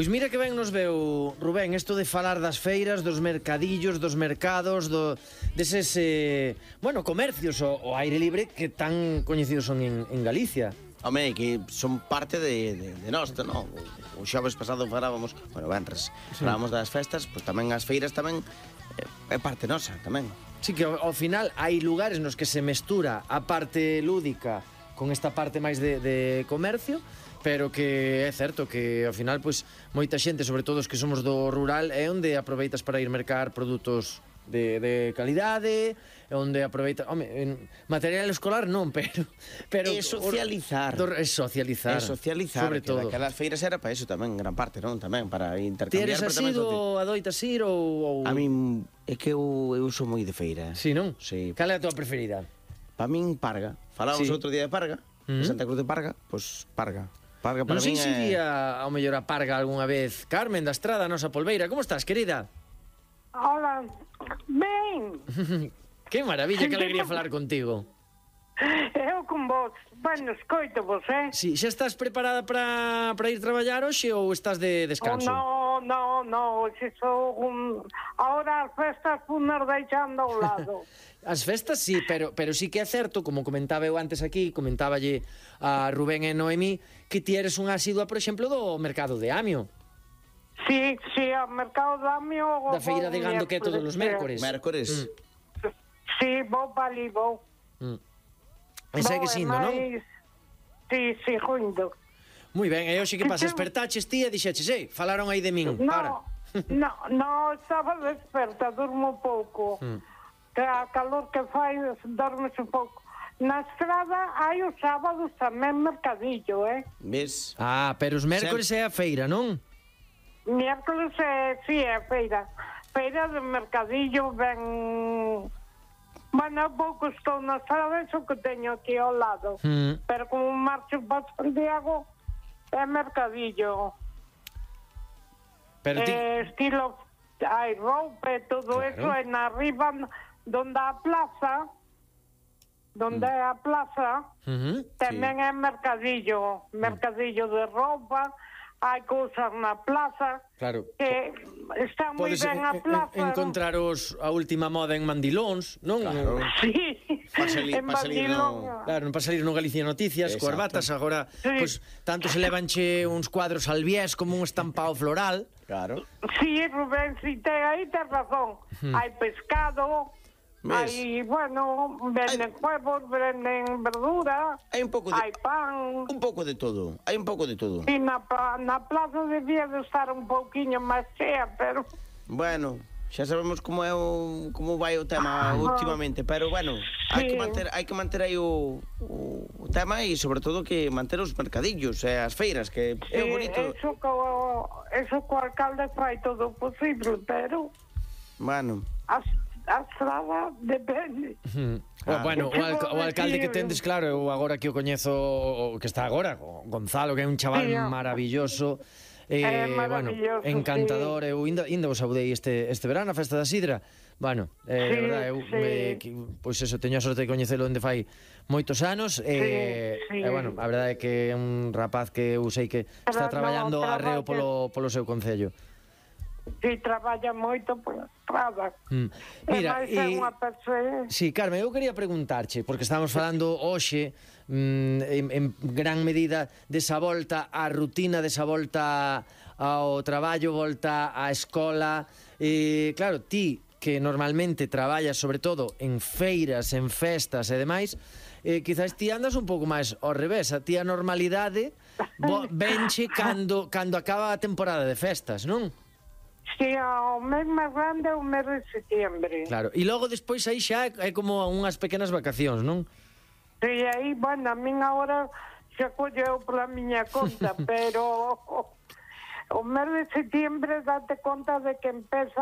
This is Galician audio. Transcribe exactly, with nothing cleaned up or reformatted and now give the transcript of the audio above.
Pois mira que ben nos veu, Rubén, isto de falar das feiras, dos mercadillos, dos mercados, do, deses, eh, bueno, comercios ao, ao aire libre que tan coñecidos son en, en Galicia. Home, que son parte de, de, de nós, non? O, o xoves pasado falábamos, bueno, venres, sí. falábamos das festas, pois tamén as feiras tamén é, é parte nosa, tamén. Sí, que ao, ao final hai lugares nos que se mestura a parte lúdica con esta parte máis de, de comercio, pero que é certo que ao final pois moita xente, sobre todo os que somos do rural, é onde aproveitas para ir mercar produtos de, de calidade, é onde aproveitas, home, en material escolar non, pero pero é socializar. É socializar. É socializar, sobre que todo. Aquelas feiras era para eso tamén, gran parte, non? Tamén para intercambiar. Ti eres asido, adoitas ir ou, ou... A min é que eu, eu sou moi de feira. Sí, non? Sí. Cal é a tua preferida? Para min, Parga. Falábamos Sí. outro día de Parga, Mm. de Santa Cruz de Parga, pois Parga. Parga para Non sei min se é... iría ao mellor a Parga algunha vez. Carmen da Estrada, a nosa polbeira. Como estás, querida? Hola, ben. Que maravilla, que alegría falar contigo. Eu con vos. Bueno, escoito vos, eh? Sí, xa estás preparada para para ir traballar hoxe ou estás de descanso? Oh, no, no, no, se sou un... Ahora as festas funas deixando ao lado. As festas sí, pero pero sí que é certo, como comentaba eu antes aquí, comentáballe a Rubén e Noemí, que ti eres unha asidua, por exemplo, do mercado de Amio. Sí, sí, ao mercado de Amio... Da feira de gando que é todos os mércores. Mércores. Mm. Sí, vou para ali, vou. Mm. E segue sindo, non? Sí, sí, jundo. Moi ben, e hoxe que pasa, espertaches ti e dixeches, ei, falaron aí de min, No, para. no, no, estaba desperta, durmo pouco. Mm. Que a calor que fai, dormes un pouco. Na estrada hai os sábados tamén mercadillo, eh? Ves? Ah, pero os mércores é a feira, non? Miércoles é, sí, é feira. Feira de mercadillo ben... Bueno, pouco estou na estrada, eso que teño aquí ao lado. Mm. Pero como marcho para Santiago, é mercadillo. Pero ti... Eh, estilo, hai roupa e todo Claro. eso, e na arriba, donde a plaza, donde é a plaza, Uh-huh. tamén é mercadillo, mercadillo de roupa, hai cousas na plaza, Claro. que está moi Podes ben a en- en- plaza. encontrar os, a última moda en mandilóns, non? Claro. Sí, Pa salir- en pa salir Batilón. no- Claro, non para salir no Galicia Noticias, Exacto. coas batas, agora, Sí. pois, tanto se levanche uns cuadros albiés como un estampado floral. Claro. Sí, Rubén, si te, aí tes razón. Hai pescado, Ves? hai, bueno, venden huevos, venden verdura, Hai un pouco de... hai pan. Un pouco de todo. Hai un pouco de todo. E na, pa- na plaza debía de estar un pouquiño máis chea, pero... Bueno, xa sabemos como é o como vai o tema últimamente, pero bueno, hai Sí. que manter hai que manter aí o, o, o tema e sobre todo que manter os mercadillos e as feiras, que é Sí, bonito. eso, co, eso co alcalde fai todo o posible, pero Bueno, a, a estrada depende. Ah, bueno, o, Que alca vou o alcalde que decir? tendes, claro, eu agora que o coñezo, o que está agora, o Gonzalo, que é un chaval Sí, ó. maravilloso. Eh, É bueno, maravilloso, encantador, eu ainda, ainda vos saudei este, este verano a festa da Sidra. Bueno, eh, Sí, de verdade, eu sí. eh, que, pois eso, teño a sorte de coñecelo onde fai moitos anos, eh, sí. e bueno, a verdade é que é un rapaz que eu sei que está Pero traballando no, arreo traballa. polo, polo seu concello. Si traballa moito pola estrada. Mm. Mira, e máis é e- unha persoa... Sí, Carmen, eu quería preguntarche, porque estamos falando hoxe mm, en, en gran medida desa volta á rutina, desa volta ao traballo, volta á escola. E, claro, ti que normalmente traballas sobre todo en feiras, en festas e demais, eh, quizás ti andas un pouco máis ao revés. A ti a normalidade bo, venche cando, cando acaba a temporada de festas, non? Si, o mes máis grande é o mes de setiembre. Claro, e logo despois aí xa é, é como unhas pequenas vacacións, non? E aí, bueno, a min agora se acolleu pola miña conta, pero o, o mes de setiembre date conta de que empeza